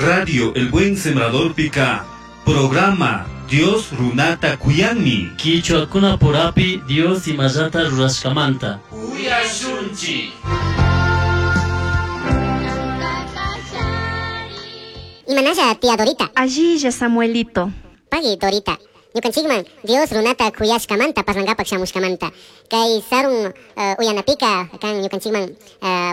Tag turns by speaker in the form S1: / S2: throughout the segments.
S1: Radio El Buen Sembrador Pica. Programa Dios Runata Kuyanmi.
S2: Kichwakuna purapi Dios imallata rurashkamanta.
S3: Uyashunchi.
S4: Imanalla tía Dorita.
S5: Allilla Samuelito.
S4: Pagui Dorita. Ñukanchikman Dios runata kuyashkamanta parlangapak shamushkamanta. Kay sarun uyanapika kan ñukanchikman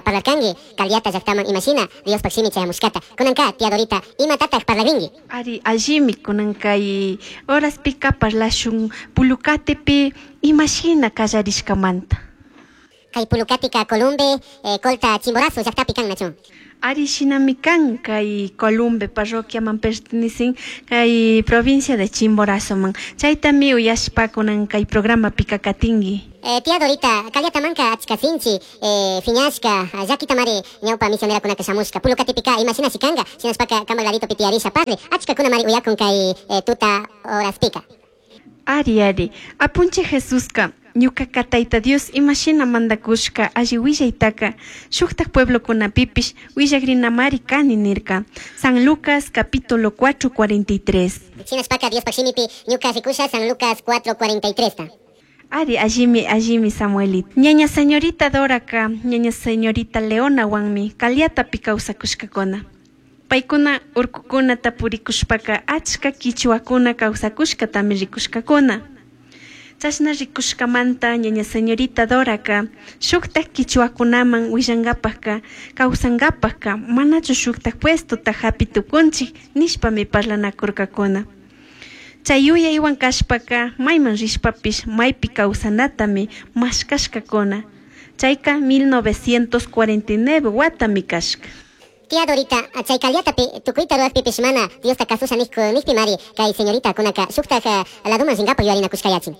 S4: parlarkanki Caliata llaqtaman imashina Diospaq shimi chayamushkata. Kunanka tía Dorita imatataq parlarinki.
S5: Ari allimi kunan kay horaspika parlashun Pulucatepi imashina kallarishkamanta.
S4: Kay Pulucatika Columbe Colta Chimborazo llaqtapi kan nachu.
S5: Ari shinami kan kay Columbe parroquiaman pertenecen kay provincia de Chimborazo man. Chaytami uyashpa kunan kay programapika katinki.
S4: Tía Dorita, Caliatamanka achka sinchi, fiñashka, llakitamari ñawpa misionerakunaka shamushka. Pulucatipika imashina shikanga, shinashpaka kamak laditopi tiyarisha parli, achkakunamari uyakun kay tuta horaspika.
S5: Ari, ari, apunchik Jesuska, ñukaka Tayta Dios imashina mandakushka alli willaytaka shuktak pueblokunapipish willakrinamari kani nirka. San Lucas capítulo 4:43.
S4: Shinashpaka Diospaq shimipi ñuka rikusha San Lucas 4:43 ta.
S5: Ari, allimi, allimi, Samuelito. Ñaña señorita Doraka, ñaña señorita Leonawanmi Caliatapi kawsakushkakuna. Paykuna urkukunata purikushpaka achka kichwakuna kawsakushkatami rikushkakuna. Chashna rikushkamanta ñaña señorita Doraka shuktak kichwakunaman willankapakka kawsankapakka manachu shuktak puestota hapi tukunchik nishpami parlanakurkakuna. Chay yuyaywan kashpaka mayman rishpapish maypi kawsanatami mashkashkakuna. Chayka 1949 watami kashka.
S4: Tía Dorita, chay Caliatapi tukuyta rurakpipish mana Diosta kasusha nikpi mari kay señorita kunaka shuktak laduman rinkapak yuyarinakushkayachin.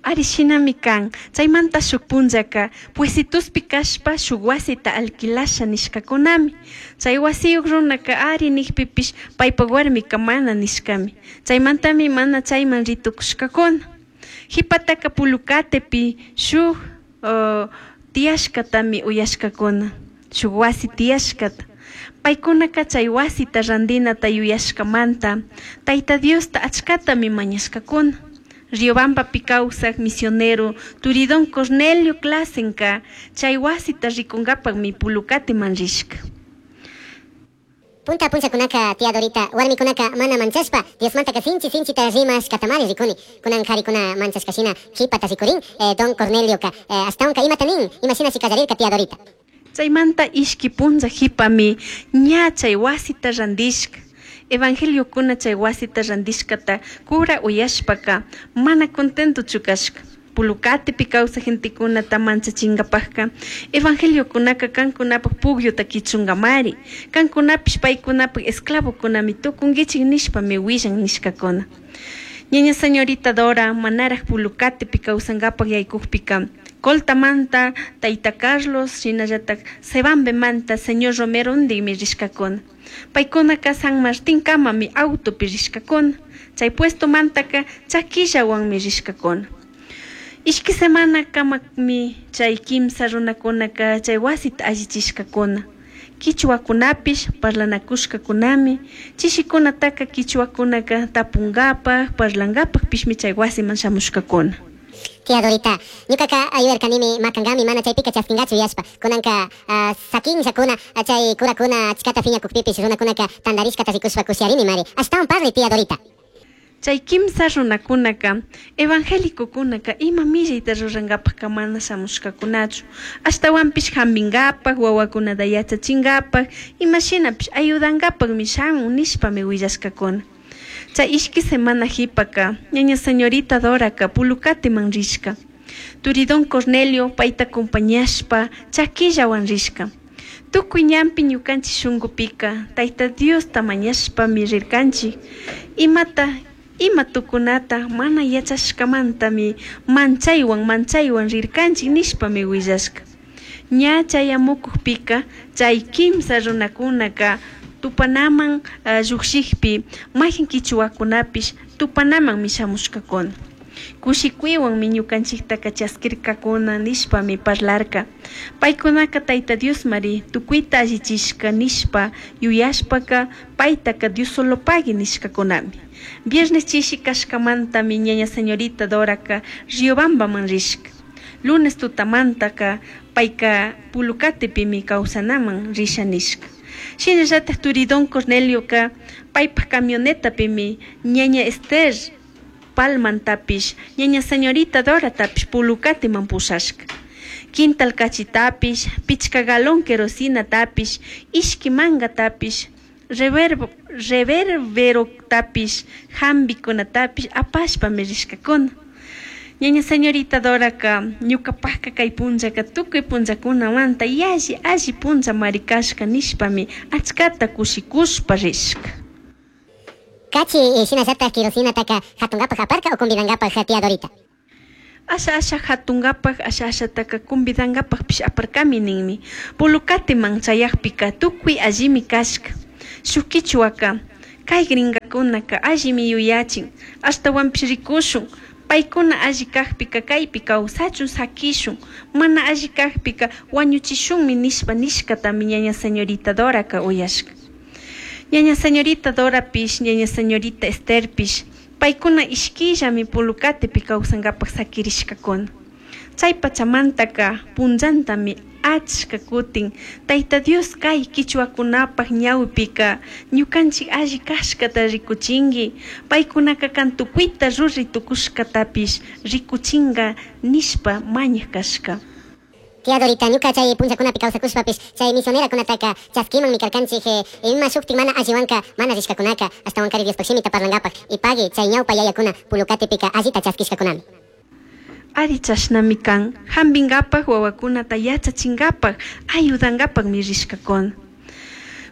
S5: Ari shinami kan, chaymanta shuk punllaka puesituspi kashpa shuk wasita alquilasha nishkakunami. Chay wasiyuq runaka ari nikpipish paypak warmika mana nishkami. Chaymantami mana chayman ritukushkakuna. Hipataka Pulucatepi shuk tiyashkatami uyashkakuna. Shuk wasi tiyashkata. Paykunaka chay wasita randinata yuyashkamanta Tayta Diosta achkatami mañashkakuna. Riobambapi kawsak misionero Turidón Cornelio Clasenka chay wasita rikunkapakmi Pulucateman rishka.
S4: Punta punchakunaka tía Dorita warmikunaka mana manchashpa Diosmantaka sinchi sinchita rimashkatamari rikuni. Kunan karikuna manchashkashina hipata rikurin don Cornelioka ashtawanka imata nin imashinashi kallarirka tía Dorita.
S5: Chaymanta ishki punlla hipami ña chay wasita randishka. Evangeliokuna chay wasita randishkata cura uyashpaka mana contentochu kashka. Pulucatepi kawsak gentekunata manchachinkapakka evangeliokunaka kankunapak pukyuta kichunkamari kankunapish paykunapak esclavokunami tukunkichik nishpami willan nishkakuna. Ñaña señorita Dora manaraj Pulucatepi kawsankapak yaykukpika Coltamanta Tayta Carlos shinallatak Sebambemanta señor Romero undikmi rishkakuna. Paykunaka San Martín kamami autopi rishkakuna. Chay puestomantaka chakillawanmi rishkakuna. Ishki semana kamami chay kimsa runakunaka chay wasita allichishkakuna. Kichwakunapish parlanakushkakunami chishikunataka kichwakunaka tapunkapak parlankapakpishmi chay wasiman shamushkakuna.
S4: Tía Dorita, ñukaka ayudarkanimi makankami mana chaypika chaskinkachu yashpa. Kunanka sakinllakuna chay kurakuna achkata phiñakukpipish runakunaka tantarishkata rikushpa kushiarini mari. Ashtawan parli tía Dorita.
S5: Chay kimsa runakunaka evangélicokunaka ima millayta rurankapakka mana shamushkakunachu. Ashtawanpish hampinkapak, wawakunata yachachinkapak, imashinapish ayudankapakmi shamun nishpami willashkakuna. Chay ishki semana hipaka ñaña señorita Doraka Pulucateman rishka. Turidón Cornelio payta acompañashpa chakillawan rishka. Tukuy ñanpi ñukanchik shunkupika Tayta Diosta mañashpami rirkanchik. Imata ima tukunata mana yachashkamantami manchaywan manchaywan rirkanchik nishpami willashka. Ña chayamukukpika chay kimsa runakunaka tupanaman llukshikpi mayqin kichwakunapish tupanamanmi shamushkakuna. Kushikuywanmi ñukanchiktaka chaskirkakuna nishpami parlarka. Paykunaka Tayta Diosmari tukuyta allichishka nishpa yuyashpaka paytaka Diosolopagui nishkakunami. Viernes chishi kashkamantami ñaña señorita Doraka Riobambaman rishka. Lunes tutamantaka payka Pulucatepimi kawsanaman risha nishka. Shinallatak turi Don Cornelioka paypak camionetapimi ñaña Esther Palmantapish ñaña señorita Doratapish Pulucateman pushashka. Quintal kachitapish, pichka galón kerosinatapish, ishki mangatapish, reverberotapish, hambikunatapish apashpami rishkakuna. Ñaña señorita Doraka ñukapakka kay punllaka tukuy punllakunamanta yalli alli punllamari kashka nishpami achkata kushikushpa rishka.
S4: Kachi shinallatak kerosinataka hatunkapak aparka o convidankapak tía Dorita.
S5: Asha asha hatunkapak asha ashataka convidankapakpish aparkami ninmi. Pulucateman chayakpika tukuy allimi kashka. Shuk kichwaka kay gringakunaka allimi yuyachin ashtawanpish rikushun. Paykuna alli kakpika kaypi kawsachun sakishun, mana alli kakpika wañuchishunmi nishpa nishkatami ñaña señorita Doraka uyashka. Ñaña señorita Dorapish, ñaña señorita Estherpish, paykuna ishkillami Pulucatepi kawsankapak sakirishkakuna. Chay pachamantaka punllantami achka kutin Tayta Dios kay kichwakunapak ñawpika ñukanchik alli kashkata rikuchinki, paykunaka kan tukuyta ruray tukushkatapish rikuchinka nishpa mañak kashka.
S4: Tía Dorita, ñuka chay punllakunapi kawsakushpapish chay misionerakunataka chaskimanmi karkanchik ima shuktik mana alliwanka mana rishkakunaka ashtawankari Diospak shimita parlankapak y pagui chay ñawpa yayakuna Pulucatepika allita chaskishkakunami.
S5: Ari chashnami kan, hampinkapak wawakunata yachachinkapak ayudankapakmi rishkakuna.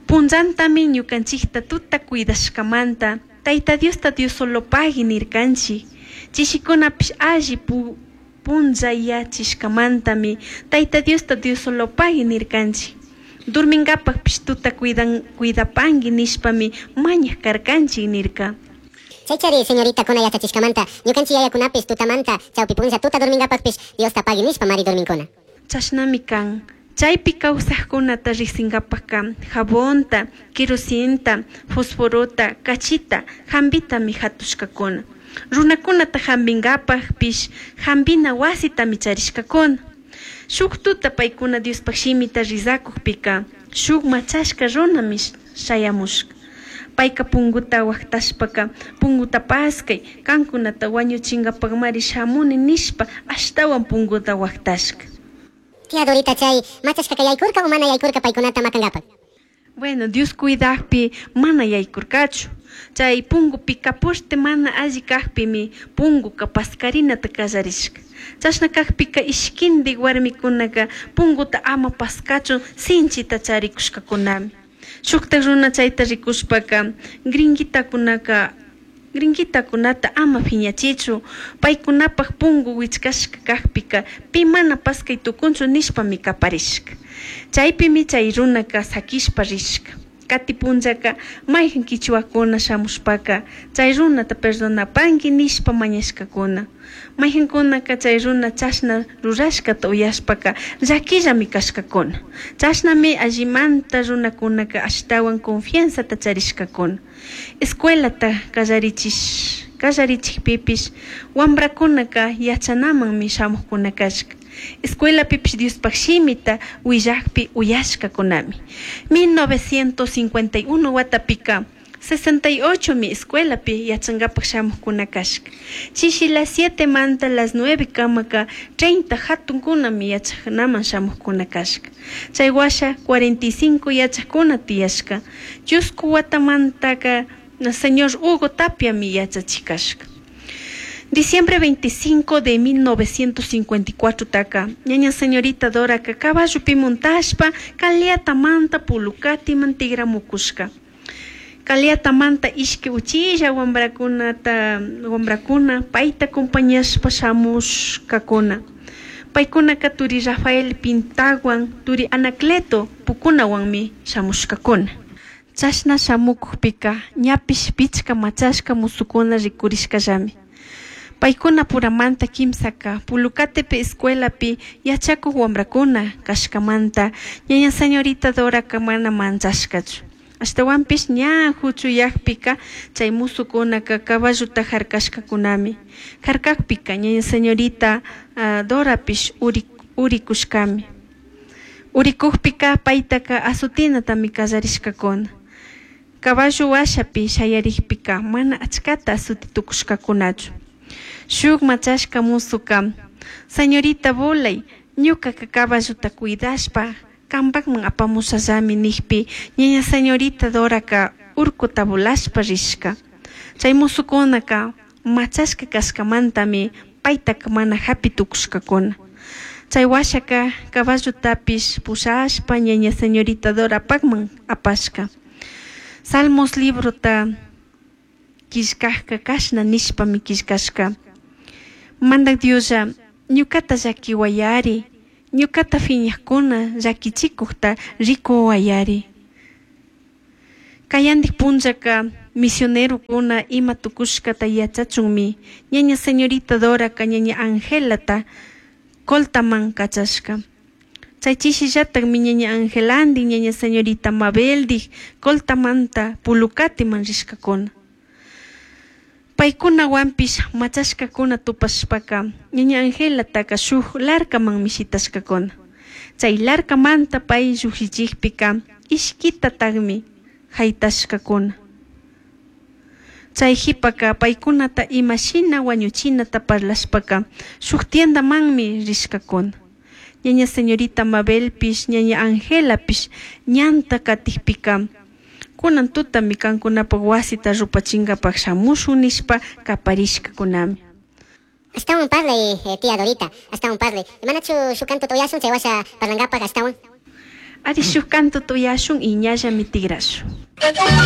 S5: Punllantami ñukanchikta tuta cuidashkamanta Tayta Diosta Diosolopagui nirkanchik. Chishikunapish alli punllayachishkamantami Tayta Diosta Diosolopagui nirkanchik. Durminkapakpish tuta cuidapanki nishpami mañak karkanchik nirka.
S4: Chaychari señorita kuna yachachishkamanta ñukanchik yayakunapish tutamanta chawpi punlla tuta durminkapakpish Diosta pagui nishpa mari durminkuna.
S5: Chashnami kan. Chaypi kawsaqkunata riqsinkapakka jabonta, kerosinta, fosforota, kachita, hambitami hatushkakuna. Runakunata hambinkapakpish hambina wasitami charishkakuna. Shuk tuta paykuna Diospak shimita rizakukpika shuk machashka runami shayamushka. Payka punguta waqtashpaka punguta paskay kankunata wañuchinkapakmari shamuni nishpa ashtawan punguta waqtashka.
S4: Tía Dorita chay machashkaka yaykurka o mana yaykurka paykunata makankapak.
S5: Bueno, Dios cuidakpi mana yaykurkachu. Chay pungupika poste mana alli kakpimi punguka paskarinata kallarishka. Chashna kakpika ishkindik warmikunaka punguta ama paskachun sinchita charikushkakunami. Shuktak runa chayta rikushpaka gringuitakunata ama phiñachichu, paykunapak pungu wichkashka kakpika pi mana paskay tukunchu nishpami kaparishka. Chaypimi chay runaka sakishpa rishka. Kati punllaka mayhan kichwakuna shamushpaka chay runata perdonapanki nishpa mañashkakuna. Mayhankunaka chay runa chashna rurashkata uyashpaka llakillami kashkakuna. Chashnami allimanta runakunaka ashtawan confianzata charishkakuna. Escuelata kallarichikpipish wambrakunaka yachanamanmi shamukkuna kashka. Escuelapipish Diospak shimita willakpi uyashkakunami. 1951 watapika 68 mi escuelapi yachankapak shamukkuna kashka. Chishi las 7 manta las 9 kamaka 30 hatunkunami yachanaman shamukkuna kashka. Chay washa 45 yachakuna tiyashka. Chusku watamantaka señor Hugo Tapiami yachachikashka. Diciembre 25 de 1954 taka, ñaña señorita Doraka caballopi montashpa Caliata manta Pulucati mantigramukushka. Caliata manta ishki uchilla wambrakuna payta acompañashpa shamushkakuna. Paykunaka turi Rafael Pintawan, turi Anacleto pukunawanmi shamushkakuna. Chashna shamukukpika ñapish pichka machashka musukuna rikurishkallami. Paykuna puramanta kimsaka Pulucatepe escuelapi yachakuq wamrakuna kashkamanta ñaña señorita Doraka mana manchashkachu. Ashtawanpish ña huchuyakpika chay musukunaka caballuta harkashkakunami. Harkakpika ñaña señorita Dorapish urikushkami. Urikukpika paytaka azutinatami kallarishkakuna. Caballo washapi shayarikpika mana achkata azuti tukushkakunachu. Shuk machashka musuka, señorita volay, ñukaka caballuta cuidashpa kampakman apamushallami nikpi ñaña señorita Doraka urkuta volashpa rishka. Chay musukunaka machashka kashkamantami paytaka mana hapi tukushkakuna. Chay washaka caballutapish pushashpa ñaña señorita Dorapakman apashka. Salmos librota killkajka kashna nishpami killkashka. Mandak Dioslla ñukata llakiwayari, ñukata phiñajkuna llakichikukta rikuwayari. Kayandik punllaka misionerokuna ima tukushkata yachachunmi ñaña señorita Doraka ñaña Angelata Coltaman kachashka. Chay chishillatakmi ñaña Angelandi ñaña señorita Mabeldik Coltamanta Pulucatiman rishkakuna. Paykunawanpish machashkakuna tupashpaka ñaña Angelataka shuk larkamanmi shitashkakuna. Chay larkamanta pay llukshichikpika ishkitatakmi haytashkakuna. Chay qhipaka paykunata imashina wañuchinata parlashpaka shuk tiendamanmi rishkakuna. Ñaña señorita Mabelpish ñaña Angelapish ñanta katikpika kunan tutami kankunapak wasita rupachinkapak shamushun nishpa kaparishkakunami.
S4: Ashtawan parlay, tía Dorita, ashtawan parlay. Manachu shuk kantuta uyashun chay washa parlankapak ashtawan?
S5: Ari shuk kantuta uyashun y ñallami tigrashun.